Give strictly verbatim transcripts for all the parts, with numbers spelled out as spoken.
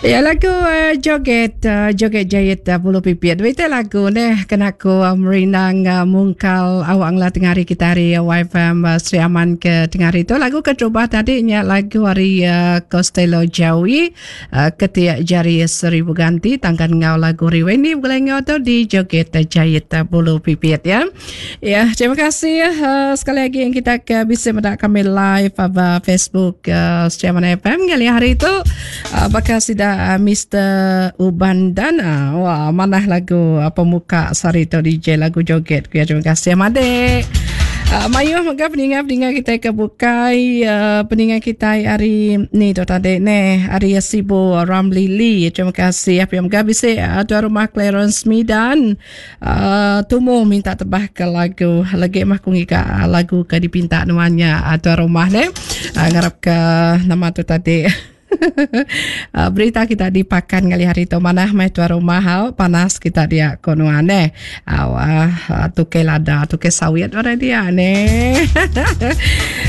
Ya lagu uh, joget uh, joget jahit uh, bulu pipit. Duit lagu neh kena aku uh, merindang uh, mungkal awak ngela tengah hari kita hari uh, Y F M uh, Sri Aman ke tengah hari tu. Lagu keterubah tadi nya lagu hari uh, Costello Jawi uh, ketiak jari seribu ganti tangkan ngau lagu Riweni boleh ngau tu di joget uh, jahit uh, bulu pipit ya. Ya, terima kasih uh, sekali lagi yang kita ke bisa mendak kami live pada Facebook uh, Sri Aman F M kali hari itu uh, bakal sudah Uh, Mister Ubandana. Wah, mana lagu uh, pemuka sari tu D J lagu joget. Ya, terima kasih Amadek. Uh, mayuh mega peninga-peninga kita ke bukai uh, peninga kita hari ni tu tadi ne hari Sibu Ramli Lee. Terima kasih apa yang mega bisa uh, tuan rumah Clarence Midan uh, tumu minta tebah ke lagu lagi mah ku ngiga lagu ke dipinta nuannya uh, tuan rumah ne uh, ngarap ke nama tu tadi. Berita kita dipakan kali hari itu mana mai tuan rumah hau panas kita dia konuane aw tuke lada tuke sawit ora dia ne.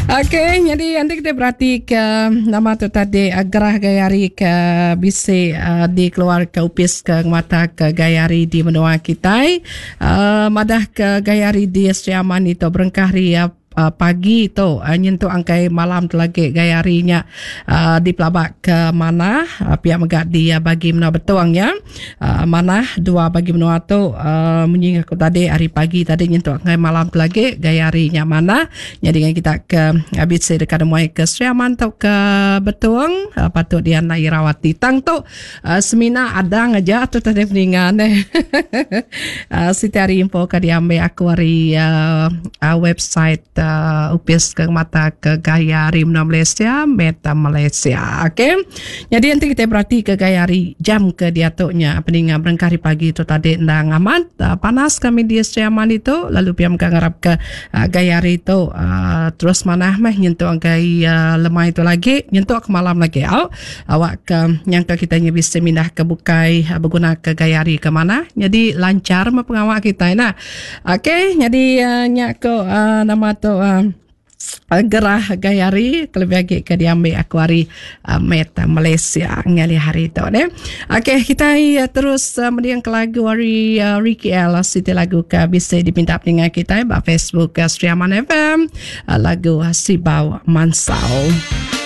Okey, jadi nanti kita berarti ke nama tu tadi gerah gayari ke bisi uh, dikeluar ke upis ke mata ke gayari di menua kita uh, madah ke gayari di Sri Aman itu berengkah ria Uh, pagi tu uh, nyentuh angkai malam tu lagi gayarinya uh, dipelabak ke mana uh, pihak megak dia bagi menua betuang ya uh, mana dua bagi menua tu uh, menyinggung aku tadi hari pagi tadi nyentuh angkai malam tu lagi gayarinya mana jadi dengan kita ke habis dekat muai ke Sri Aman tu ke betuang uh, patut dia nak irawati tang tu uh, semina adang aja tu tadi peningan eh uh, siti hari info ke diambil aku hari uh, uh, website Uh, upis ke mata ke gaya hari menua Malaysia, Meta Malaysia. Okey. Jadi nanti kita berarti ke gaya hari jam ke diatuknya peningan berengkah hari pagi itu tadi ndang amat uh, panas kami di Sri Aman itu lalu piam ke ngarap ke uh, gaya hari itu uh, terus manah meh nyentuh angkai uh, lemah itu lagi nyentuh ke malam lagi. Au awak ke yang ke kita bisa mindah ke bukai uh, berguna ke gaya hari ke mana. Jadi lancar mah pengawak kita nah. Okey, jadi uh, nyak ke uh, nama tu Uh, gerah gayari terlebih lagi ke diambil aku hari uh, Meta Malaysia ngali hari itu deh. Okey, kita uh, terus uh, mendiang ke lagu hari uh, Ricky L siti lagu ke bisa dipinta pendengar kita ba Facebook uh, Sri Aman F M uh, lagu uh, Sibau Mansau.